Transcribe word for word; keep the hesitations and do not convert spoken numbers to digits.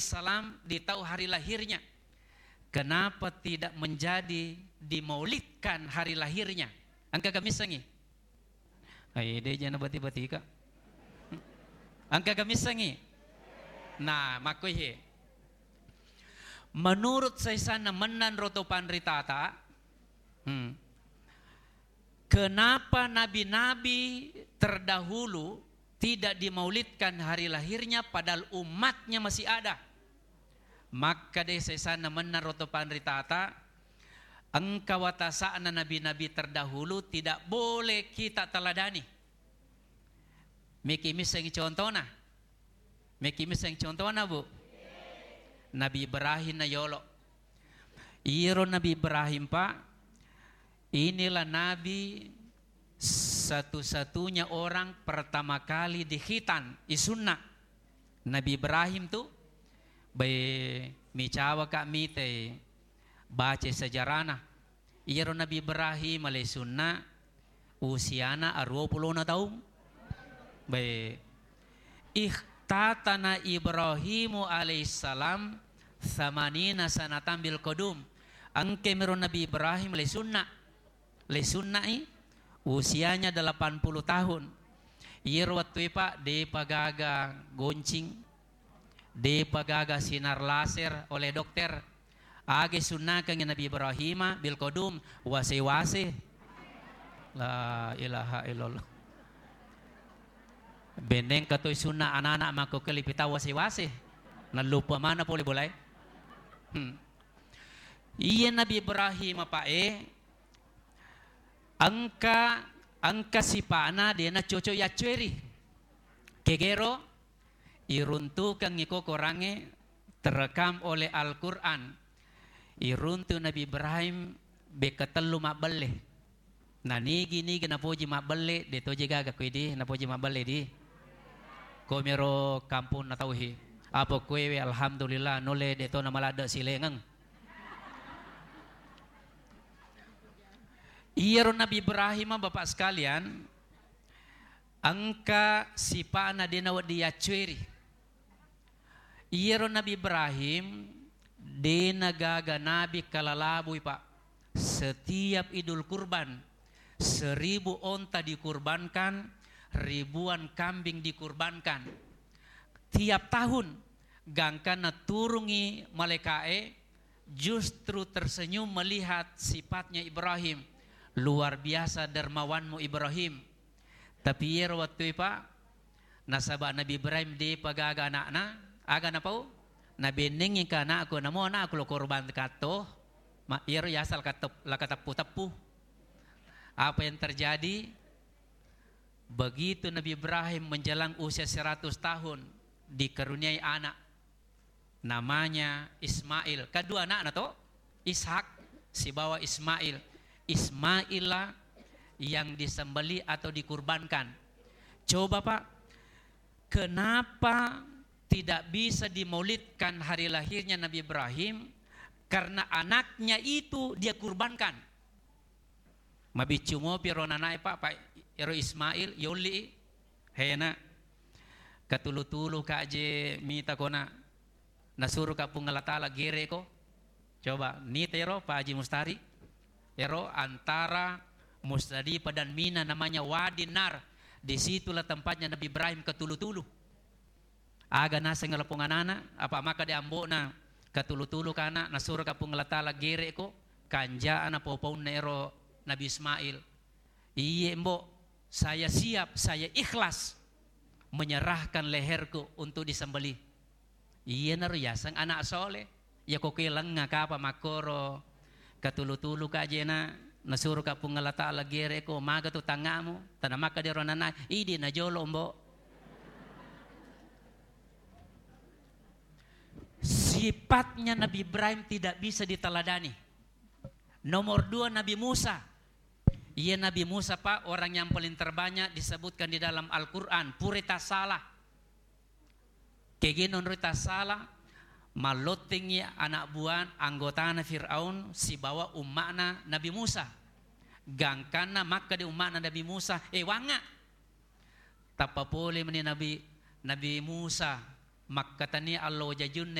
alaihissalam di tau hari lahirnya. Kenapa tidak menjadi dimaulidkan hari lahirnya? Engka gamissengi? Ai, de jana bati-batika. Engka gamissengi? Nah, makkoihe. Menurut saisanna mennang roto panritata, hmm, kenapa nabi-nabi terdahulu tidak dimaulidkan hari lahirnya padahal umatnya masih ada? Makkeda saisanna mennang roto panritata, engka watasa'na nabi-nabi terdahulu tidak boleh kita teladani. Meki misseng contona. Meki misseng contona, Bu. Nabi Ibrahim na yolo. Iyaro Nabi Ibrahim, Pak, inilah nabi satu-satunya orang pertama kali dikhitan, isunna. Nabi Ibrahim tu, bai, micawa ka mitai baca sejarahna. Iyaro Nabi Ibrahim alaihi sunna usiana aruwa pulona taung. Bai. Ikhtatana Ibrahimu alaihissalam samanina sanatan bil qadum. Engka miro Nabi Ibrahim alaihi sunna. Alaihi sunnai usianya delapan puluh tahun. Iyaro wettu e, Pak, depa gaga goncing, depa gaga sinar laser oleh dokter. Aga isunnakengngi Nabi Ibrahima bil qadum, wase-wase. La ilaha illallah. Benneng katoi sunna anak-anak makko kelipi tau wase-wase. Nallupa mana pole bolae. Hmm. Iya Nabi Ibrahim apa e, engka, engka sipa'na dena cocok yaccueri. Kegero iruntukengngi ko korangnge terekam oleh Al-Quran. Iruntu Nabi Ibrahim bekka tellu mabbelle. Na nigi-nigi napoji mabbelle, de toje gaga ko idi napoji mabbelle di. Komiro kampung na tauhi. Apa kuewe, alhamdulillah, nulle de to namaladde silengeng. Iyaro Nabi Ibrahim, Bapak sekalian, engka sipa'na de nawedding yaccueri. Iyaro Nabi Ibrahim, de nagaga nabi kalalabui, Pak. Setiap Idul Kurban, seribu onta dikurbankan, ribuan kambing dikurbankan. Tiap tahun, gangkanna turungi malaikae, justru tersenyum melihat sifatnya Ibrahim. Luar biasa dermawanmu Ibrahim. Tapi iyaro wettue, Pak, nasaba Nabi Ibrahim depa gaga ana'na, aga napau? Nabennengngi ka anakku, namo anakku lo korban katto, ma-, iyaro yasal katep-, lakateppu-teppu. Apa yang terjadi? Begitu Nabi Ibrahim menjelang usia seratus tahun, dikaruniai anak. Namanya Ismail. Kedua anakna to, Ishak sibawa Ismail. Ismaillah yang disembelih atau dikurbankan. Coba, Pak, kenapa tidak bisa dimaulidkan hari lahirnya Nabi Ibrahim? Karena anaknya itu dia kurbankan. Mabiccu mopi ro nanae, Pak, Pak, ero Ismail, yolli i. Hena. Katulu-tulu ka je mita kona. Nasuru ka Puang Allah Taala gere ko. Coba, nita ero Pak Haji Mustari. Ero antara Musdalifah dan Mina namanya Wadi Nar. Disitulah tempatnya Nabi Ibrahim katulu-tulu. Aga naseng lapong anana, apa maka de ambo'na katulu-tulu kana, nasuro ka Puang Allah Taala gere ko, kanja'na pau-paunna ero Nabi Ismail. Iye, Mbok, saya siap, saya ikhlas menyerahkan leherku untuk disembelih. Iyanaro yaseng anak soleh. Iya ko koe lengnga kapa makkoro katulu-tulu ka jena, nasuro ka Puang Allah Taala gere ko, maga tu tangamu, tana maka dero nana, idi na jolo, Mbok. Sifatnya Nabi Ibrahim tidak bisa diteladani. Nomor dua, Nabi Musa. Iya, Nabi Musa, Pak, orang yang paling terbanyak disebutkan di dalam Al-Quran. Purita salah. Kegeno nrita salah, mallottengngi anak buah anggotana Fir'aun sibawa umma'na Nabi Musa. Gangkanna makkeda umma'na Nabi Musa, "Eh, wangnga." Tappa pole meni Nabi, Nabi Musa makkatani allo jajunna